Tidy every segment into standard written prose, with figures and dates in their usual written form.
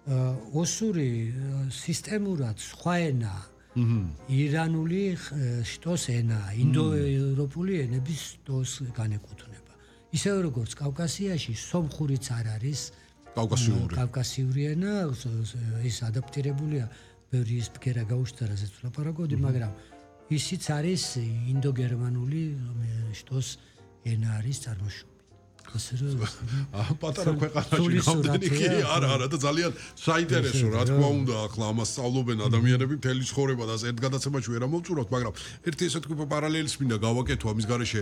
ოსური სისტემურად სხვა ენა ირანული შტოს ენა, ინდოევროპული ენების შტოს განეკუთვნება. ისევე როგორც კავკასიაში სომხურიც არ არის კავკასიური ენა, ის ადაპტირებულია ბევრი ის ბგერა გაუჩნდა, რასაც ვლაპარაკობდი, მაგრამ ისიც არის ინდოგერმანული შტოს ენა არის წარმოშობილი. პატარა ქვეყანაში რამდენი კი არა და ძალიან საინტერესო რა თქმა უნდა ახლა ამას სწავლობენ ადამიანები მთელი ცხოვრება და ერთ გადაცემაში ვერ ამოვწურავთ მაგრამ ერთი ესე თქვა პარალელის მინდა გავაკეთო ამის გარეშე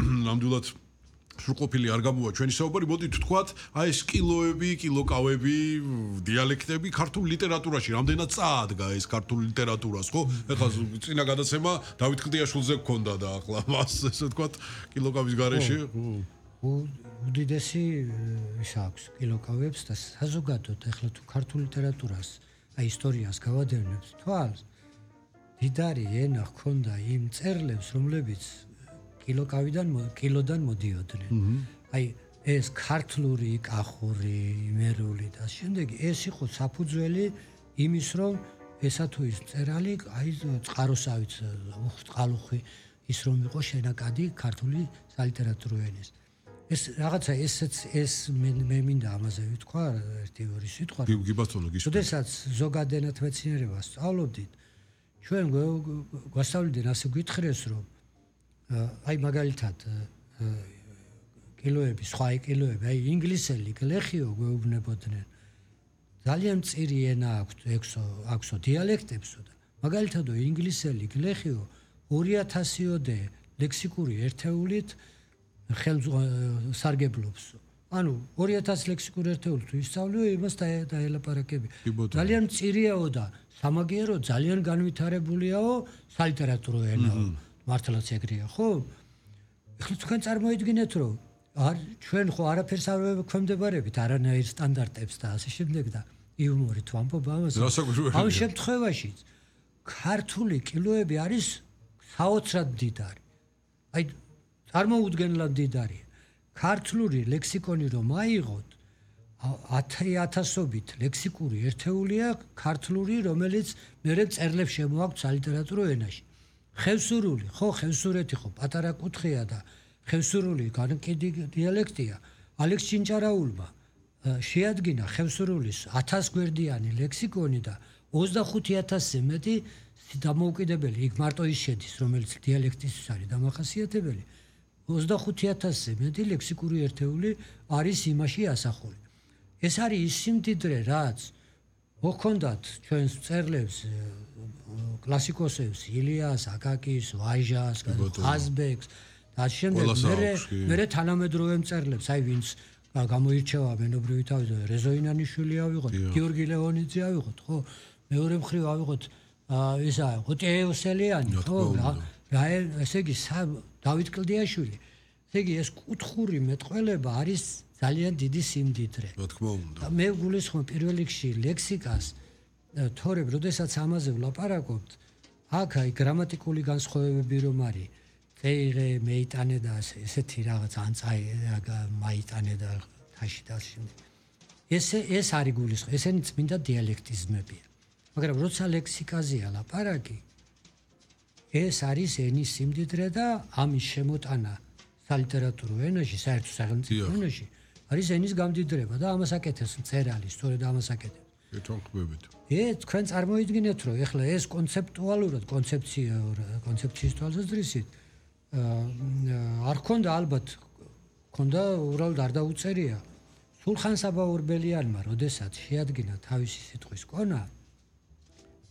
ნამდვილად სრულყოფილი არ გამოვა ჩვენი საუბარი მოდით ვთქვათ აი ეს კილოები კილოკავები დიალექტები ქართულ ლიტერატურაში რამდენად წაადგა ეს ქართულ ლიტერატურას ხო ეხლა წინა გადაცემა დავით კლდიაშვილზე გქონდა და ახლა მას ესე ვთქვათ კილოკავის გარეშე უდიდესი ის აქვს კილოკავებს და საზოგადოდ ეხლა თუ ქართულ ლიტერატურას აი ისტორიას გავადევნებთ თვალს დიდარი ენა ჰქონდა იმ წერლებს რომლებიც კილოდან მოდიოდნენ აი ეს ქართლური კახური იმერული და შემდეგ ეს იყო საფუძველი იმის რომ ესა თუ ის წერალი აი წყაროსავით წყალუხვი ის რომ იყო შენაკადი ქართული სალიტერატურო ენის ეს რაღაცა ეს მე მინდა ამაზე ვთქვა ერთი ორი სიტყვა. გიბატონო გისურვებთ. როდესაც ზოგად ენათმეცნიერებას სწავლობდით, ჩვენ გვასწავლდნენ ასე გითხრეს რომ აი მაგალითად კილოები, სხვა კილოები, აი ინგლისელი გლეხიო გვეუბნებოდნენ. ძალიან მწირი ენა აქვსო დიალექტებსო და მაგალითად ინგლისელი გლეხიო 2000-ოდე ლექსიკური ერთეულით სარგებლობს. ანუ 2000 ლექსიკური ერთეული თუ ისწავლიო, იმას დაელაპარაკები. ძალიან მწირიაო და სამაგიერო, ძალიან განვითარებულიაო სალიტერატურო ენაო. მართლაც ეგრეა, ხო? ეხლა თქვენ წარმოიდგინეთ, რომ ჩვენ ხო არაფერს არ ვქვემდებარებით არანაირ სტანდარტებს და ასე შემდეგ და იუმორით ვამბობ ამას. ამ შემთხვევაში ქართული კილოები არის საოცრად მდიდარი. აი წარმოუდგენლად მდიდარია. ქართლური ლექსიკონი რომ აიღოთ 10,000-ობით ლექსიკური ერთეულია ქართლური, რომელიც მერე წერლებს შემოაქვთ სალიტერატურო ენაში. ხევსურული, ხო, ხევსურეთი ხო პატარა კუთხეა და ხევსურული განკიდი დიალექტია. ალექს ჩინჭარაულმა შეადგინა ხევსურულის 1000 გვერდიანი ლექსიკონი და 25,000-ზე მეტი დამოუკიდებელი, იქ მარტო ის შედის, რომელიც დიალექტისთვის არის დამახასიათებელი. 25,000-ზე მეტი ლექსიკური ერთეული არის იმაში ასახული. ეს არის ის სიმდიდრე, რაც მოხონდათ ჩვენს წერლებს კლასიკოსებს, ილიას, აკაკის, ვაჟას, ყაზბეგს და შემდეგ მერე თანამედროვე მწერლებს, აი ვინც გამოირჩევა მენობრივი თავით, რეზო ინანიშვილი ავიღოთ, გიორგი ლეონიძე ავიღოთ, ხო? მეორე მხრივ ავიღოთ ისა ღუტიევსელიანი, ხო? ესე იგი დავით კლდიაშვილი. ესე იგი ეს კუთხური მეტყველება არის ძალიან დიდი სიმდიდრე. რა თქმა უნდა. მე გულისხმობ პირველ რიგში ლექსიკას, თორემ როდესაც ამაზე ვლაპარაკობთ, აქ აი გრამატიკული განსხვავებები რომ არის, წეიღე, მეიტანე და ესეთი რაღაც ანწაი, მაიტანე და თაში და შემდეგ. ეს არის გულისხმობ, ესენი წმინდა დიალექტიზმებია. მაგრამ როცა ლექსიკაზეა ლაპარაკი, ეს არის ენის სიმდიდრე და ამის შემოტანა სალიტერატურო ენაში, საერთო სახელმწიფო ენაში არის ენის გამდიდრება და ამას აკეთებს მწერალი, სწორედ ამას აკეთებს. ეთანხმებით. თქვენ წარმოიდგინეთ, რომ ეხლა ეს კონცეპტუალურად, კონცეფციის თვალსაზრისით არ ქონდა ალბათ, ქონდა უბრალოდ არ დაუწერია. სულხან საბა-ორბელიანმა, როდესაც შეადგინა თავისი სიტყვის კონა,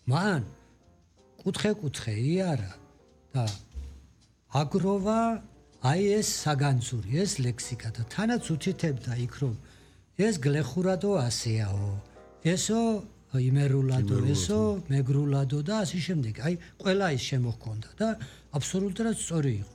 მან კუთხე-კუთხე იარა და აგროვა აი ეს საგანძური, ეს ლექსიკა და თანაც უთითებდა იქ რომ ეს გლეხურადო ასეაო, ესო იმერულადო, ესო მეგრულადო და ასე შემდეგ. აი ყველა ის შემოჰქონდა და აბსოლუტურად სწორი იყო.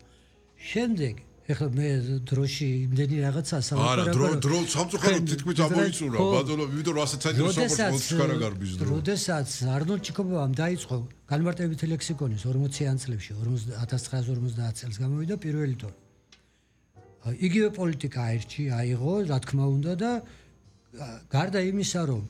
შემდეგ ეხლა მე დროში იმდენი რაღაცა სალაპარაკო. არა, დრო სამწუხაროდ თითქმის ამოიწურა, ბატონო, იმიტომ რომ ასეთ საინტერესო საპორტს კარაგარბის დრო. როდესაც არნოლდ ჩიკობოვამ დაიწყო განმარტებითი ლექსიკონის 40-იან წლებში, 1950 წელს გამოვიდა პირველი ტომი. იგივე პოლიტიკა აიღო, რა თქმა უნდა და გარდა იმისა, რომ